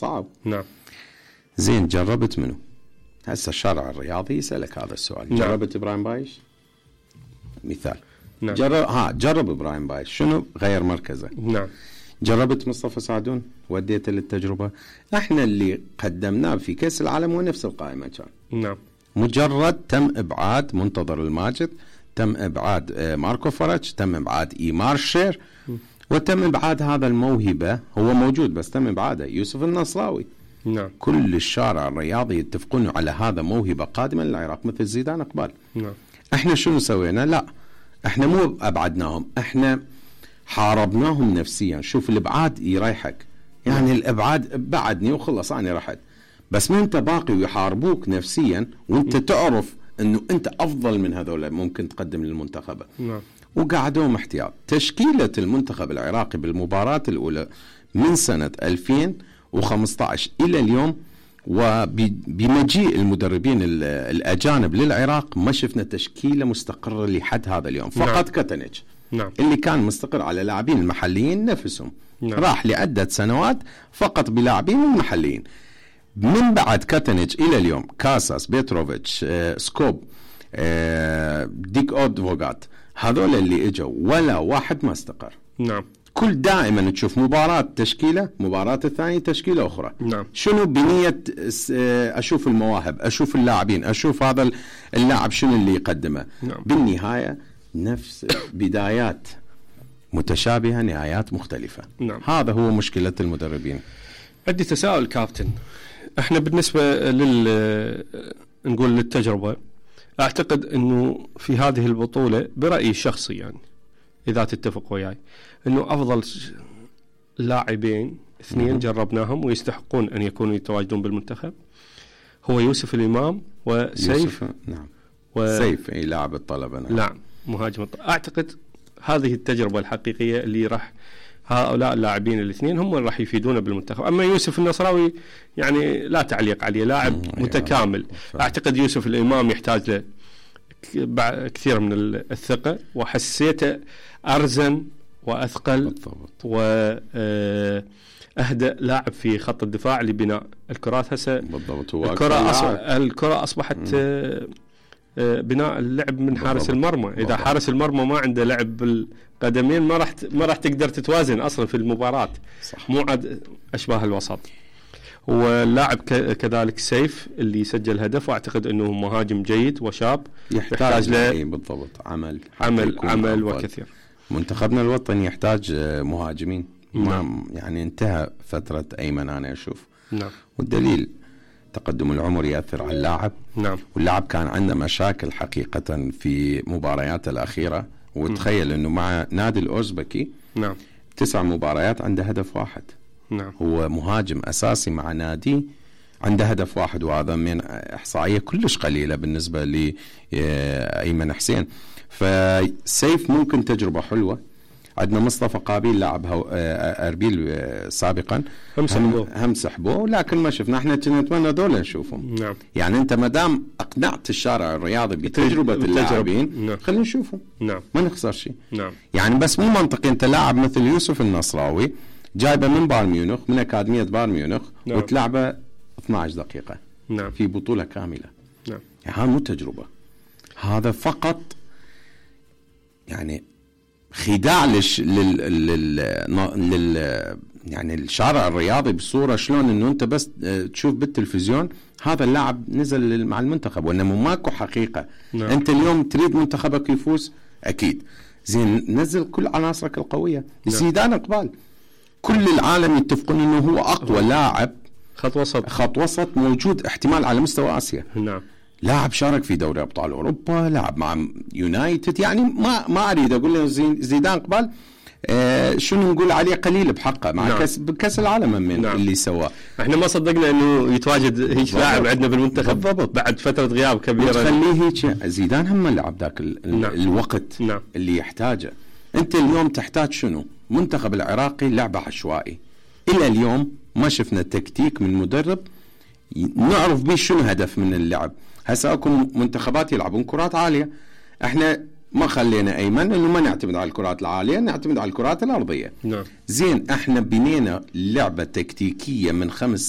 صعب. نعم. زين، جربت منه؟ هسه الشارع الرياضي يسألك هذا السؤال. نعم. جربت إبراهيم بايش؟ مثال. نعم. جرب إبراهيم بايش، شنو غير مركزه؟ نعم. جربت مصطفى سعدون؟ وديته للتجربة؟ احنا اللي قدمناه في كأس العالم هو نفس القائمة كان. نعم. مجرد تم إبعاد منتظر الماجد، تم إبعاد ماركو فرج، تم إبعاد إيمار شير، وتم إبعاد هذا الموهبة. هو موجود بس تم إبعاده، يوسف النصراوي. نعم. كل الشارع الرياضي يتفقون على هذا موهبة قادمة للعراق مثل زيدان إقبال. نعم. احنا شنو سوينا؟ لا، احنا مو أبعدناهم، احنا حاربناهم نفسيا. شوف الإبعاد يريحك، يعني الإبعاد بعدني وخلص أنا رحت، بس ما أنت باقي ويحاربوك نفسيا وأنت تعرف أنه أنت أفضل من هذول ممكن تقدم للمنتخب. نعم. وقعدوهم احتياط. تشكيلة المنتخب العراقي بالمباراة الأولى من سنة 2015 إلى اليوم، وبمجيء المدربين الأجانب للعراق ما شفنا تشكيلة مستقرة لحد هذا اليوم. فقط كتنج نعم. اللي كان مستقر على لاعبين المحليين نفسهم. نعم. راح لعدة سنوات فقط بلاعبين المحليين. من بعد كتنج إلى اليوم كاساس، بيتروفيتش، سكوب، ديك أودفوغات، هذول اللي اجوا ولا واحد ما استقر. نعم. كل دائما تشوف مباراة تشكيلة، مباراة الثانية تشكيلة أخرى. نعم. شنو بنية أشوف المواهب، أشوف اللاعبين، أشوف هذا اللاعب شنو اللي يقدمه. نعم. بالنهاية نفس بدايات متشابهة، نهايات مختلفة. نعم. هذا هو مشكلة المدربين. عندي تساؤل كابتن، احنا بالنسبة نقول للتجربة، اعتقد انه في هذه البطولة برأيي الشخصي، يعني اذا تتفق وياي، انه افضل لاعبين اثنين جربناهم ويستحقون ان يكونوا يتواجدون بالمنتخب هو يوسف الامام وسيف. نعم. سيف اي لاعب الطلبة. نعم. مهاجم اعتقد هذه التجربة الحقيقية اللي راح هؤلاء اللاعبين الاثنين هم اللي راح يفيدونا بالمنتخب. اما يوسف النصراوي يعني لا تعليق عليه، لاعب متكامل. اعتقد يوسف الامام يحتاج له كثير من الثقة، وحسيته أرزن وأثقل وأهدأ لاعب في خط الدفاع لبناء الكرات. هسه بالضبط. الكرة أصبحت بناء اللعب من حارس المرمى. إذا حارس المرمى ما عنده لعب بالقدمين ما راح تقدر تتوازن أصلا في المباراة. صح. مو عاد أشباه الوسط. واللاعب كذلك سيف اللي سجل هدف، واعتقد انه مهاجم جيد وشاب يحتاج له بالضبط عمل وكثير. منتخبنا الوطني يحتاج مهاجمين. يعني انتهى فترة أيمن أنا أشوف. نعم. والدليل تقدم العمر يأثر على اللاعب. نعم. واللاعب كان عنده مشاكل حقيقة في مباريات الأخيرة. وتخيل انه مع نادي الأوزبكي 9 مباريات عنده هدف واحد. نعم. هو مهاجم أساسي مع نادي عنده هدف واحد، وهذا من إحصائية كلش قليلة بالنسبة لأيمن حسين. فسيف ممكن تجربة حلوة. عندنا مصطفى قابيل لاعب أربيل سابقا، هم سحبوه لكن ما شفنا. احنا نتمنى دول نشوفهم. نعم. يعني انت مدام اقنعت الشارع الرياضي بتجربة اللاعبين، نعم، خلينا نشوفهم. نعم. ما نخسر شيء. نعم. يعني بس مو منطقي انت لاعب مثل يوسف النصراوي جايبه من بايرن ميونخ، من أكاديمية بايرن ميونخ، نعم، وتلعبه 12 دقيقة، نعم، في بطولة كاملة. نعم. يعني هذا مو تجربة، هذا فقط يعني خداع يعني الشارع الرياضي بصورة شلون انه انت بس تشوف بالتلفزيون هذا اللاعب نزل مع المنتخب، وانما ماكو حقيقة. نعم. انت اليوم تريد منتخبك يفوز اكيد، زين نزل كل عناصرك القوية. نعم. زيدان إقبال كل العالم يتفقون انه هو اقوى لاعب خط وسط موجود احتمال على مستوى اسيا. نعم. لاعب شارك في دوري ابطال اوروبا، لاعب مع يونايتد. يعني ما اريد اقول له زيدان إقبال شنو نقول عليه قليل بحقه مع نعم، كاس العالم من نعم، اللي سواه. احنا ما صدقنا انه يتواجد هيك لاعب عندنا بالمنتخب بالضبط بعد فتره غياب كبيره. تخليه هيك. زيدان هم لعب ذاك نعم، الوقت نعم، اللي يحتاجه. انت اليوم تحتاج شنو؟ منتخب العراقي لعبه عشوائي. الى اليوم ما شفنا تكتيك من مدرب نعرف به شنو هدف من اللعب. هسه اكو منتخبات يلعبون كرات عاليه، احنا ما خلينا ايمن انه ما نعتمد على الكرات العاليه، نعتمد على الكرات الارضيه. نعم. زين احنا بنينا لعبه تكتيكيه من 5